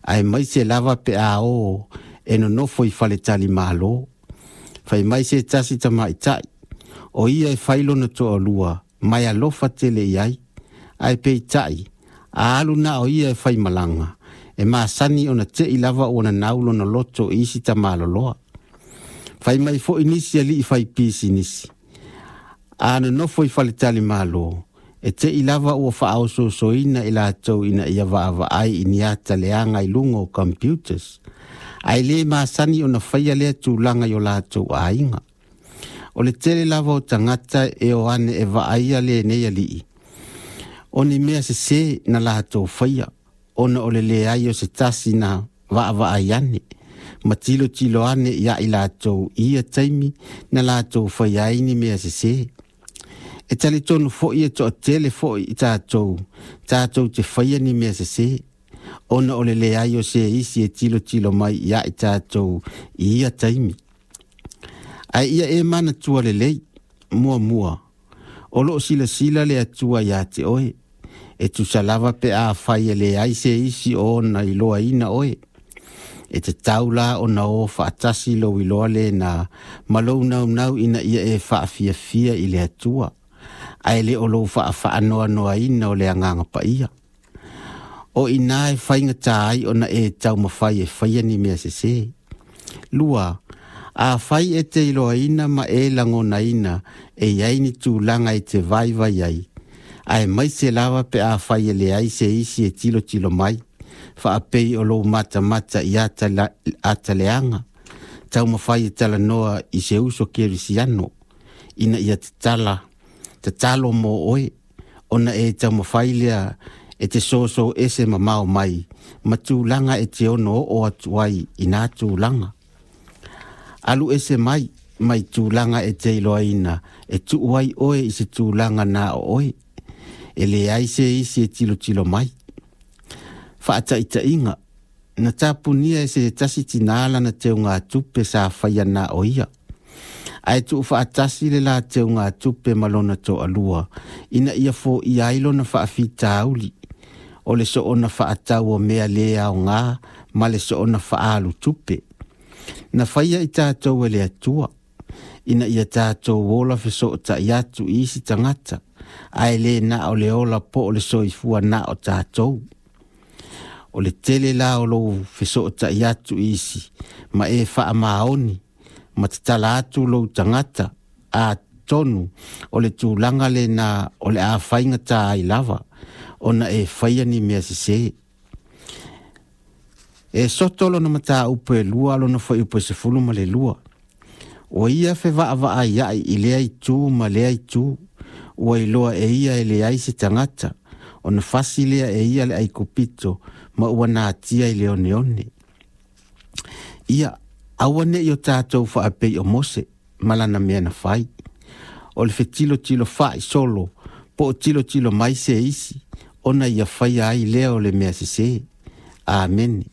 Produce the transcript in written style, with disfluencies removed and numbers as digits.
Aemaise lava pe a o e nonofo i faletalimalo. Fai mai se tasi tamaitai, o ia e fai lona toalua ma e alofa tele i ai, ae peitai, a alu na o ia e faimalaga, e masani ona te'i lava ua nanau lona loto i isi tamaloloa. Fai mai foi nisi alii fai pisinisi, a nonofo i faletalimalo, e te'i lava ua faaosoosoina i latou ina ia vaavaai i ni ata leaga i luga o computers, ae le masani ona faia lea tulaga i o latou aiga. O le tele lava o tagata e o ane e vaaia lenei alii, o ni mea sesē na latou faia, ona o le leai o se tasi na vaavaai ane ma tilotilo ane ia i latou i ia taimi na latou faia ai ni mea sesē. E talitonu foi e toatele foi i tatou tatou te faia ni mea sesē, ona o le leai o se isi e tilotilo mai ia i tatou i ia taimi. Ae ia e manatua lelei, muamua, o loo silasila le Atua iā te oe, e tusa lava pe afai e leai se isi o ona iloaina oe. E tatau la ona o faatasi lou iloa lena ma lou naunau ina ia e faafiafia i le Atua, ae le o lou faafaanoanoaina o le Agaga Paia. O i ina e faigata ai ona e taumafai e faia ni mea sesē. Lua, afai e te iloaina ma e lagonaina e i ai ni tulaga e te vaivai ai, aemaise lava pe afai e leai se isi e tilotilo mai, faapei o lou matamata i ata leaga, taumafai e talanoa i se uso kerisiano ina ia tatala tatalo mo oe, ona e taumafai lea e te soso ese mamao mai ma tulaga e te ono oo atu ai i nā tulaga. Alu ese mai mai tulaga e te iloaina e tuu ai oe i se tulaga na o oe, e leai se isi e tilotilo mai. Faataitaiga, na tapunia e se tasi tinā lana teugatupe sa faia na o ia, ae tuufaatasi le la teugatupe ma lona toalua ina ia foia ai lona faafitauli o le soona faatau o mea lē aogā ma le soona faaalu tupe. Na faia i tatou e le Atua ina ia tatou ola fesootai atu i isi tagata, ae lē na o le ola po o le soifua na o tatou. O le tele la o lou fesootai atu i isi ma e faamaoni ma tatala atu lou tagata, atonu o le tulaga lena o le a faigata ai lava ona e faia ni mea sesē. E soto lona mataupu e lua lona fuaiupu e 12. Ua ia fevaavaaiai i lea itu ma lea itu, ua iloa e ia e leai se tagata, ona fasi lea e ia le Aikupito ma ua natia i le oneone. Ia, aua ne'i o tatou faapei o Mose ma lana mea na fai, o le fetilotilo fa'i solo po o tilotilo mai se isi ona ia faia ai lea o le mea sesē. Amene.